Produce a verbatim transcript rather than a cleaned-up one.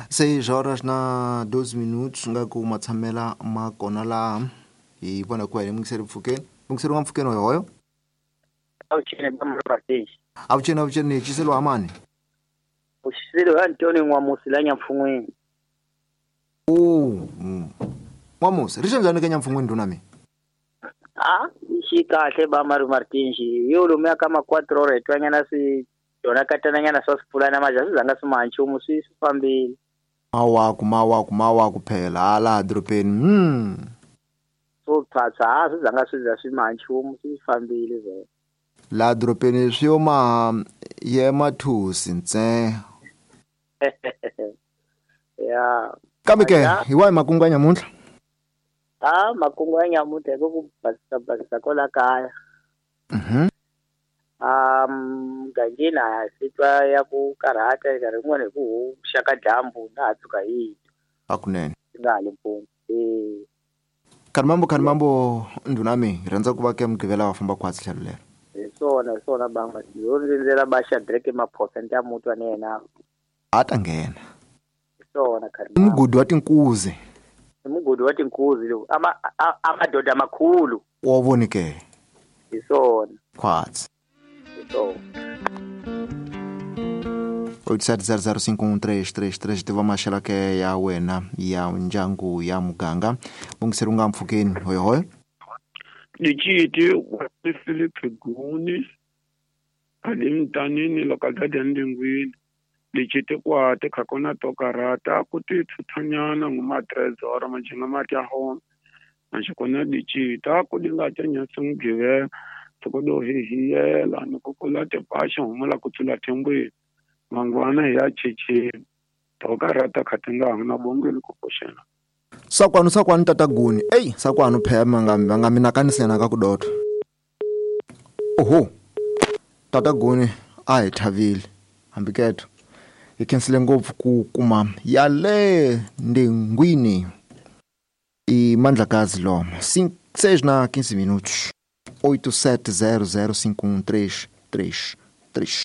Seis horas na doze minutos nga ku matshamela ma kona laha hi vona ku hi mungiseri mpfhukeni mungiseri wa mpfhukeni hoyo avuxeni ba Murhatexi avuxeni avuxeni hi xiselo wa mani uxiselo wa Antoni N'wamusi la Nyamfun'weni. Oh, N'wamusi ri xanjani ka Nyamfun'weni ndhuna mi? A xi kahle ba Mari Martinji yo lomuya ka ma quatro horas hi twanyana swi yona katananyana swa swipfulana maja swi zanga swi maha nchumu swi swi fambile. Mawaku mawaku mawaku phela hala dorobeni hmm swo phatsa a swi zanga swi za swi maha nchumu swi fambile vhele laha dorobeni swi yo maha ye mathusi ntse ya kambe ke hi wahi makungu ya nyamuntlha? A makungu ya nyamuntlha hi ku basisa basisa kwala kaya. Mhm. Um mugangeni a swi twa ya ku karhata nkarhi wun'wani hi ku xaka dyambu na ha tshuka hi twa hakunene swi nga ha le mpfuni e Khalimambo Khalimambo ndhuna mi hi rhandza ku va ke Mugqivela wa famba khwatsi tlhelo lero hi swona hi swona banga yo rindzela ba Shadrack Maphosa ni ta mutwa na yena a ta nghena hi swona i Khalimambo mugodi wa tinkuzi i mugodi wa tinkuzi lowu ama amadoda makhulu wa voni ke hi swona khwatsi hi swona oito sete zero zero cinco um três três três tiva maxelo ke ya wena ya ndyangu ya muganga mungiseri u nga mpfhukeni hoyohoyo Liciti wa Philip Guni ali mtanini localidade ya Ndingwini liciti kwate khakona to karata ku ti thuthanyana nguma trezora majinga mati ya hona naxikona licita ku dinga ta nyasi Mugqivela toko hihiyela ni ku kula tipaxi humula ku tsula thembweni mangwana hi ya checheni to karata kha ti nga na bongeni ku pfuxela sakwanu sakwanu tata Guni ei sakwanu phela va nga va nga mi nakanisena ka ku dota oho tata Guni a hi thavile hambi keto hi khensile ngopfu ku kuma ya le Ndingwini i Mandlakazi Lomo seis na quinze minutos oito sete zero zero cinco um três três três.